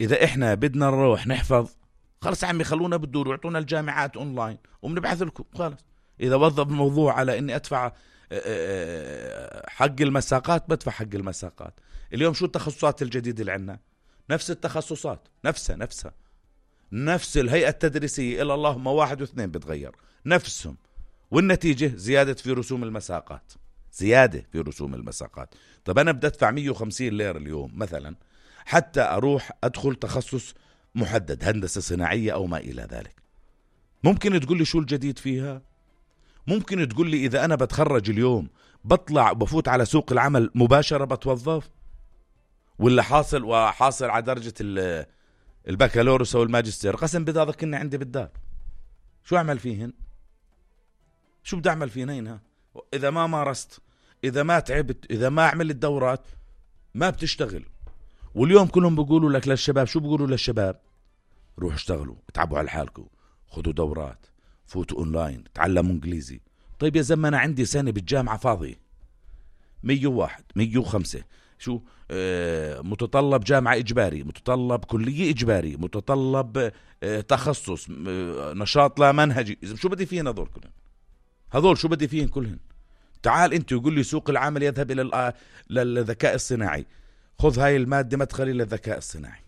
إذا إحنا بدنا نروح نحفظ خلص عمي خلونا بالدور ويعطونا الجامعات أونلاين وبنبعث لكم خلص. إذا وظف الموضوع على إني أدفع حق المساقات بدفع حق المساقات. اليوم شو التخصصات الجديدة اللي عنا؟ نفس التخصصات نفس الهيئة التدريسية إلا اللهم 1 و2 بتغير نفسهم، والنتيجة زيادة في رسوم المساقات. طب أنا بدي أدفع 150 ليرة اليوم مثلا حتى أروح أدخل تخصص محدد هندسة صناعية أو ما إلى ذلك. ممكن تقول لي شو الجديد فيها؟ ممكن تقول لي إذا أنا بتخرج اليوم بطلع وبفوت على سوق العمل مباشرة بتوظف، ولا حاصل على درجة البكالوريوس أو الماجستير قسم بالله كنا عندي بالدار شو أعمل فيهن؟ شو بدي أعمل فيهن؟ إذا ما مارست، إذا ما تعبت، إذا ما عملت الدورات ما بتشتغل. واليوم كلهم بيقولوا لك للشباب، شو بيقولوا للشباب؟ روحوا اشتغلوا، اتعبوا على حالكم، خذوا دورات، فوتوا اونلاين، تعلموا انجليزي. طيب يا زلمه انا عندي سنه بالجامعه فاضي 101 105 شو متطلب جامعه اجباري، متطلب كليه اجباري، متطلب تخصص، نشاط لا منهجي. شو بدي فيهن هذول كلهم؟ هذول شو بدي فيهن كلهن؟ تعال انت وقول لي سوق العمل يذهب الى للذكاء الصناعي، خذ هاي الماده مدخلي للذكاء الصناعي.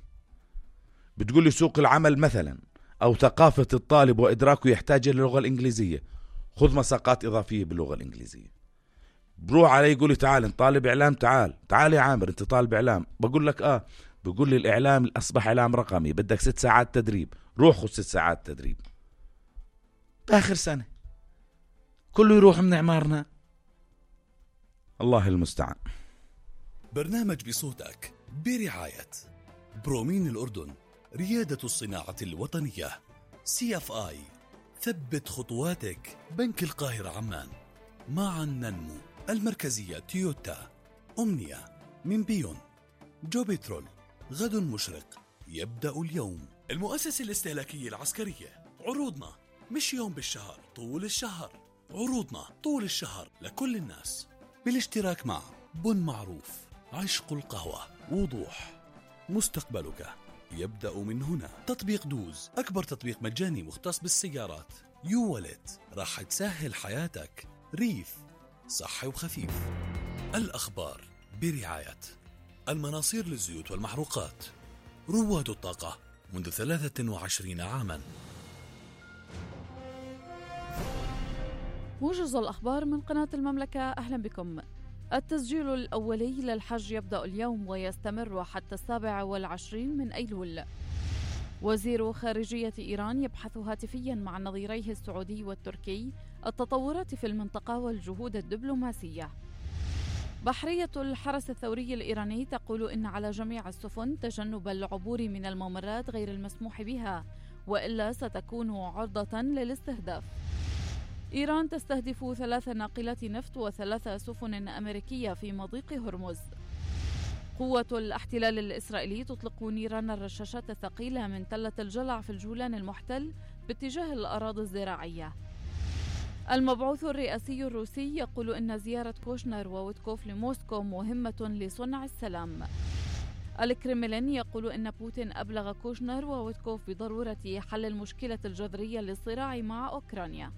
بتقول لي سوق العمل مثلا أو ثقافة الطالب وإدراكه يحتاج إلى اللغة الإنجليزية، خذ مساقات إضافية باللغة الإنجليزية. بروح علي يقول لي تعال انت طالب إعلام، تعال يا عامر انت طالب إعلام. بقول لك بقول لي الإعلام أصبح إعلام رقمي، بدك 6 ساعات تدريب، روح خذ 6 ساعات تدريب بآخر سنة. كله يروح من عمارنا. الله المستعان. برنامج بصوتك برعاية برومين الأردن، ريادة الصناعة الوطنية، CFI، ثبت خطواتك، بنك القاهرة عمان، معا ننمو، المركزية تويوتا، أمنية من بيون، جو بترول، غد مشرق يبدأ اليوم، المؤسسة الاستهلاكية العسكرية. عروضنا مش يوم بالشهر، طول الشهر. عروضنا طول الشهر لكل الناس بالاشتراك مع بن معروف، عشق القهوة، وضوح، مستقبلك يبدأ من هنا. تطبيق دوز، أكبر تطبيق مجاني مختص بالسيارات. يوالت، راح تسهل حياتك. ريف، صحي وخفيف. الأخبار برعاية المناصير للزيوت والمحروقات، رواد الطاقة منذ 23 عاما. موجز الأخبار من قناة المملكة، أهلا بكم. التسجيل الأولي للحج يبدأ اليوم ويستمر حتى 27 من أيلول. وزير خارجية إيران يبحث هاتفيا مع نظيريه السعودي والتركي التطورات في المنطقة والجهود الدبلوماسية. بحرية الحرس الثوري الإيراني تقول إن على جميع السفن تجنب العبور من الممرات غير المسموح بها، وإلا ستكون عرضة للاستهداف. إيران تستهدف 3 ناقلات نفط و3 سفن أمريكية في مضيق هرمز. قوة الاحتلال الإسرائيلي تطلق نيران الرشاشات الثقيلة من تلة الجلع في الجولان المحتل باتجاه الأراضي الزراعية. المبعوث الرئاسي الروسي يقول إن زيارة كوشنر وويتكوف لموسكو مهمة لصنع السلام. الكرملين يقول إن بوتين أبلغ كوشنر وويتكوف بضرورة حل المشكلة الجذرية للصراع مع أوكرانيا.